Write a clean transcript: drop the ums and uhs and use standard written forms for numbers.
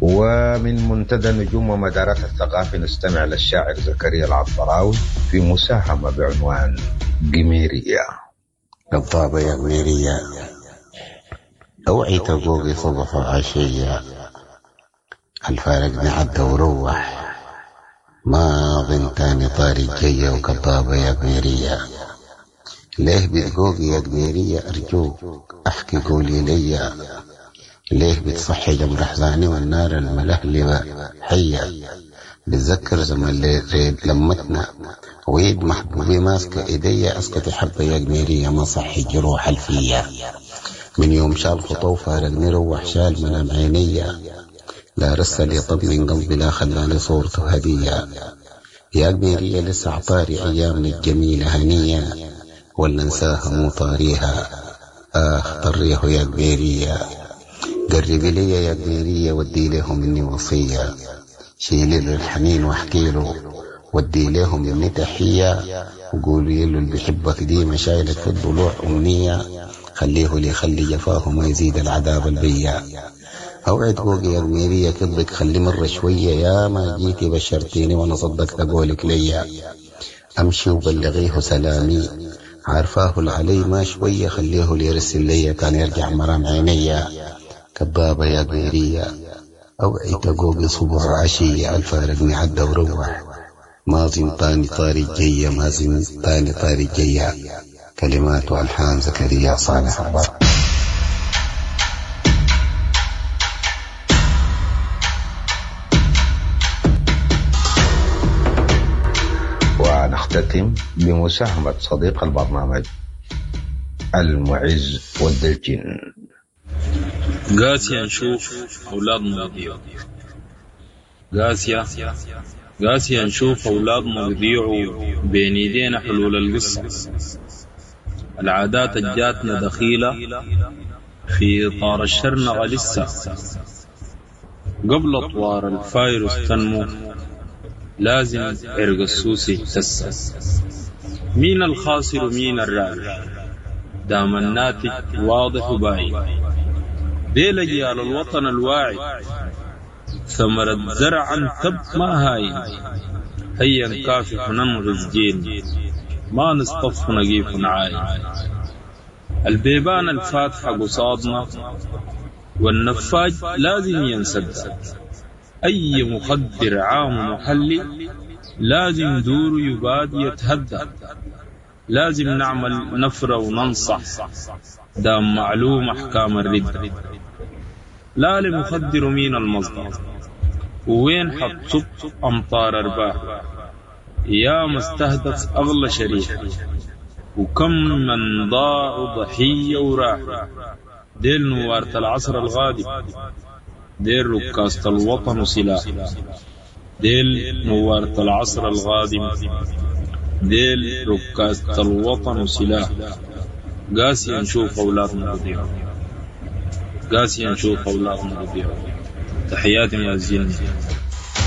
ومن منتدى نجوم ومدارات الثقافة نستمع للشاعر زكريا العطبراوي في مساهمة بعنوان قميرية. كضابة يا قميرية، اوعي تقوقي صبح وعشية، الفارقني عدى وروح، ما أظن تاني طاري الجية. وكضابة يا قميرية، ليه بتقوقي يا قميرية؟ أرجوك أحكي قولي ليا، ليه بتصحي جمر أحزاني والنار الملهلبة حية؟ بتذكر زمن ريد لمتنا ويد محبوبي ماسكة إيديا، أسكتي حبة يا قميرية ما صحي جروح الفيا. من يوم شال خطوه وفارقني روح شال منام عينيا، لا رسل يطمن قلبي لا خلاني صورته هدية. يا قميرية لسه عطاري أيامنا الجميلة هنية، ولا انساها مو طاريها؟ آخ طريه يا قميرية، قربي لي يا قميرية ودي له مني وصية، شيلي له الحنين واحكي له ودي له مني تحية، وقولي له اللي بيحبك ديما شايلك في الضلوع أمنية، خليه لي خلي جفاه ما يزيد العذاب البيا. أوعد قوقي يا قميرية كذبك خلي مرة شوية، يا ما جيتي بشرتيني وأنا صدقت قولك ليا، أمشي وبلغيه سلامي عارفاه العلي ما شوية، خليه ليرسل ليا كان يرجع مرام عينيا. كضابة يا قميرية أوعي تقوقي صبح وعشية، الفارقني عدى وروح، ما تاني طاري الجية، ما تاني طاري الجية. كلمات وألحان زكريا صالح عبار. ونختتم بمساهمة صديق البرنامج المعز ود الجن. قاسية نشوف أولادنا بيضيعوا، قاسية قاسية نشوف أولادنا بيضيعوا بين إيدينا حلول القصة. العادات الجاتنا دخيلة في إطار الشرنقة لسه، قبل أطوار الفيروس تنمو لازم عرق السوس يتسى. مين الخاسر ومين الرابح؟ دام الناتج واضح وباين، ديل أجيال الوطن الواعي، ثمرة زرعا تب ما هاين. هيا نكافح وننغز جيل، ما نصطف ونقيف ونعاين. البيبان الفاتحة قصادنا والنفاج لازم ينسد، أي مخدر عام محلي لازم دور يباد يتهدى. لازم نعمل نفرة وننصح دام معلوم أحكام الردة. لا لمخدر مين المصدر وين حتصب أمطار أرباح، يا مستهدف أغلى شريحة وكم من ضاعوا ضحية وراح. ديل نوارة العصر الغادم، ديل ركاسة الوطن وسلاح، ديل نوارة العصر الغادم، ديل ركاسة الوطن وسلاح. قاسي نشوف أولادنا بضيعوا، قاسي نشوف أولادنا بضيعوا. تحياتي يا زين.